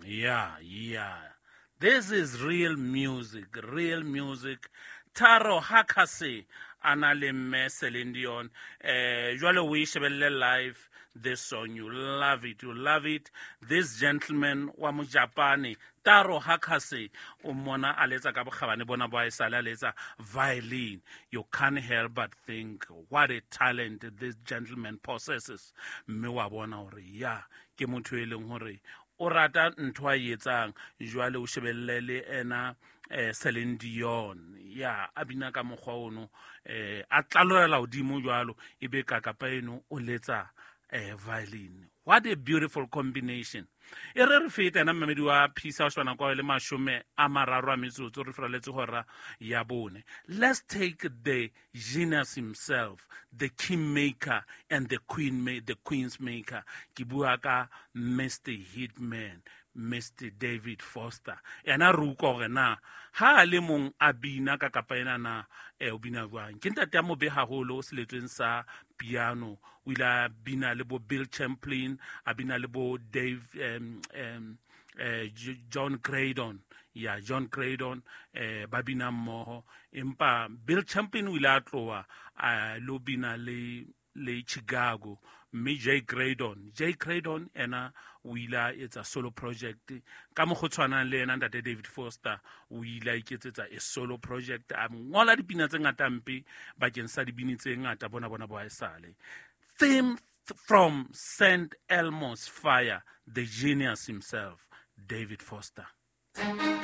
Yeah. This is real music, real music. Taro Hakase a na le mme Celine Dion. Jwale o e shebelle live this song. You love it, you love it. This gentleman wa Mojapane, Taro Hakase, o mmona a letsa ka bokgabane bona bo a esale a letsa violin. You can't help but think what a talent this gentleman possesses. Mme wa bona hore ya ke motho e leng hore o rata ntho a e etsang. Jwale o shebelle le ena Celine Dion ya a bina ka mokgwa ono, a tlallela hodimo jwalo, ebe ka kapa eno o letsa violin. What a beautiful combination. E re re feta ena mmamedi wa Phisa o shebana kwa le 30 a metsotso re feraletse hora ya 4. Let's take the genius himself, the king maker and the queen the queen's maker. Ke bua ka Mr Hitman, Mr David Foster. Ena re utlwa hore na ha a le mong a bina ka kapa ena na o bina jwang. Ke ntate a mobe haholo seletsweng sa piano. O ile a bina le bo Bill Champlin, a bina le bo Dave John Graydon. Ya John Graydon, ba bina mmoho. Empa Bill Champlin o ile a tloha a lo bina le Chicago, mme Jay Graydon ena o ile a etsa solo project ka mokgwa o tshwanang le ena ntate David Foster. O ile a iketsetsa a solo project, a ngola dipina tse ngata mpe bakeng sa dibini tse ngata bona bo haesale. Theme from St Elmo's Fire, the genius himself, David Foster.